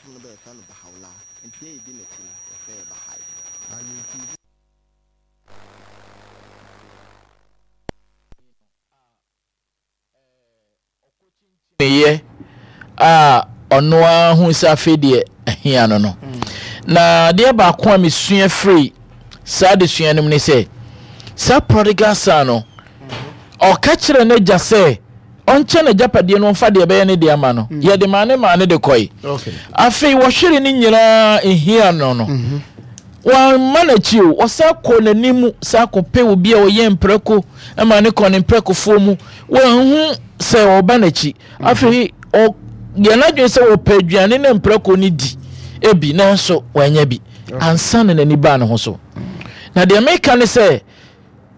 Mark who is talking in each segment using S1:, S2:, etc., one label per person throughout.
S1: som no bɛyɛfrɛ no Baha'u'llah, nti yɛ yɛdi n'akyi no yɛfrɛ yɛ Baha'i. Na yɛnfiri.
S2: Yɛ a ɔno ara hu sɛ afei deɛ ahia no no. Na adeɛ baako a mesua firi saa adesua no mu ne sɛ, saa prodigal son no, ɔka kyerɛ n'agya sɛ ɔnkyɛ n'agyapadeɛ no ɔmfa deɛ ɛbɛyɛ ne deɛ ama no. Mm. Yɛde maa ne maa ne de kɔe. Afei wɔhwere ne nyinaa ehia no no. Mm-hmm. Wamma n'akyi o, ɔsan kɔɔ n'anim san kɔpɛ obi a ɔyɛ mprako ma ne kɔɔ ne mprakofoɔ mu. Wanhu sɛ ɔreba n'akyi. Afei ɔyɛ n'adwene sɛ ɔpɛ aduane na mprako no di ebi nanso wanya bi ansa na n'ani baa ne ho so. Na deɛ meka ne sɛ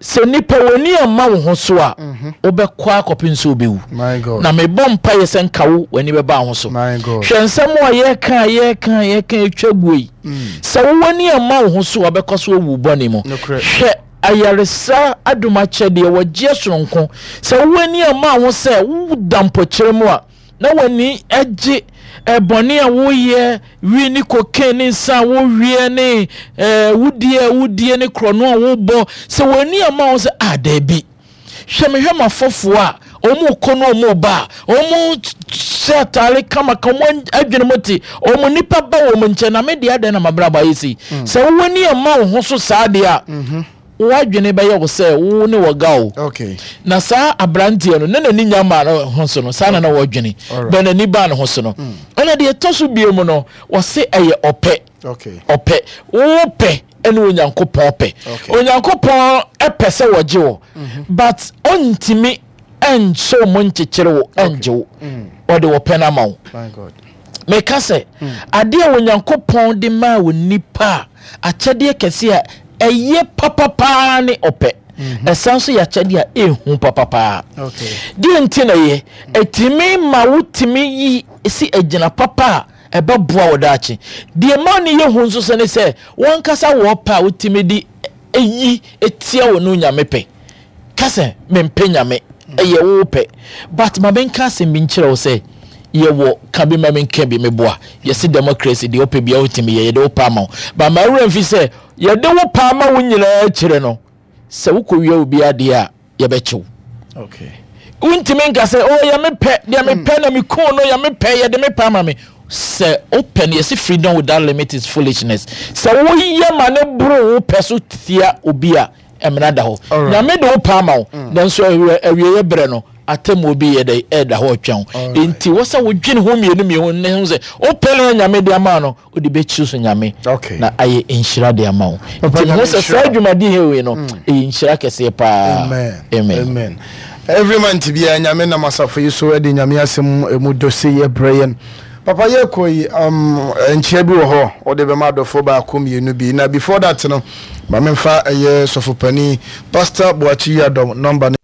S2: Sɛ nipa w'ani amma wo ho so a, mhm. wobɛkɔ akɔpem sɛ wobɛwu. Na mebɔ mpaeɛ sɛ nka wo w'ani bɛba ho so. Hwɛ nsɛm a yɛka yɛka yɛka atwa guo yi. Mm. Sɛ wo w'ani amma wo ho so a, wobɛkɔ so awu bɔne mu. Hwɛ ayaresa adom akyɛdeɛ wɔgyeɛ soronko. Sɛ wo w'ani amma ho sɛ woda mpɔkyerɛ mu a, na w'ani gye bɔne a woyɛ, wi ne cocaine ne nsa a woweɛ ne wudie a wodie ne korɔno a wobɔ, sɛ w'ani ama wo sɛ, ah, daabi, hwɛ mehwɛ m'afɔfoɔ a wɔn kɔ no wɔn ba a wɔn hyɛ ataare kama ka wɔn adwene mu te wɔn nipa ba wɔn nkyɛn na me deɛ adɛn na mabrabɔ ayɛ sei mm. Sɛ w'ani ama wo ho so saa deɛ a mm-hmm. W'adwene bɛyɛ wo sɛ wo ne wɔ ga o. Na saa aberanteɛ no, na n'ani nya maa ne ho so no, saa na na wɔdwene. Bɛ n'ani baa ne ho so no. Mm. Ɛna deɛ ɛtɔ so bio mu no, wɔse ɛyɛ ɔpɛ. Ɔpɛ. Wo pɛ ɛne Onyankopɔn pɛ. Onyankopɔn ɛpɛ sɛ wɔgye wo. Mhm. But ɔntumi ɛnhyɛ wo nkyekyere wo ɛngye wo. Mm. Ɔde ɔpɛ no ama wo. Meka sɛ, mm. adeɛ a Onyankopɔn de maa wɔ nipa a akyɛdeɛ kɛse a ɛyɛ papapaa ne ɔpɛ. Mhm. Ɛsan nso yɛ akyɛdeɛ a ɛhu papapaa. Deɛ nti na ɛyɛ, ɛtumi ma wotumi yi si agyina papa a ɛbɛboa wo daakye. Deɛ ma no yɛ hu nso sɛ ne sɛ, wankasa wɔ ɔpɛ a wotumi de yi tia wo ne Onyame pɛ. Ka sɛ mempɛ Nyame, ɛyɛ wo pɛ. But ma menka asɛm bi nkyerɛ wo sɛ yɛwɔ ka bi ma menka bi meboa. Yɛse democracy deɛ wopɛ biara wotumi yɛ, yɛde wo pɛ ama wo. But ma werɛ mfi sɛ yɛde wo pɛ ama wo nyinaa akyire no, sɛ wokɔwia obi adeɛ a yɛbɛkye wo.
S3: Okay.
S2: Wontumi nka sɛ oh yɛ me pɛ, deɛ mepɛ na mekuu no, yɛ me pɛ, yɛde me pɛ ama me. Sɛ wopɛ no yɛse freedom without limit is foolishness. Sɛ woyɛ ma ne boro wo pɛ so tia obi a, Mmara da hɔ. Nyame de wo pɛ ama wo, mm. nanso awieeɛ berɛ no, atemmuo bi yɛ dɛ ɛda hɔ retwɛn wo. Enti wɔ sɛ wodwene ho mmienu mmienu ne ho sɛ wopɛ no Nyame de ama no, wode bɛkyiri so Nyame na ayɛ nhyira de ama wo. Nti mehu sɛ saa dwumadi hewei no, mm. ɛyɛ nhyira kɛseɛ paa.
S3: Amen. Amen. Every month biara Nyame nam asafo yi so de Nyame asɛm emu dɔ sei ɛbrɛ yɛn. Papa yɛkɔ yi um, nkyia bi wɔ hɔ wode bɛma adɔfoɔ baako mmienu bi na before that no ma memfa ɛyɛ sɔfopanin Pastor Boakye Yiadom number no.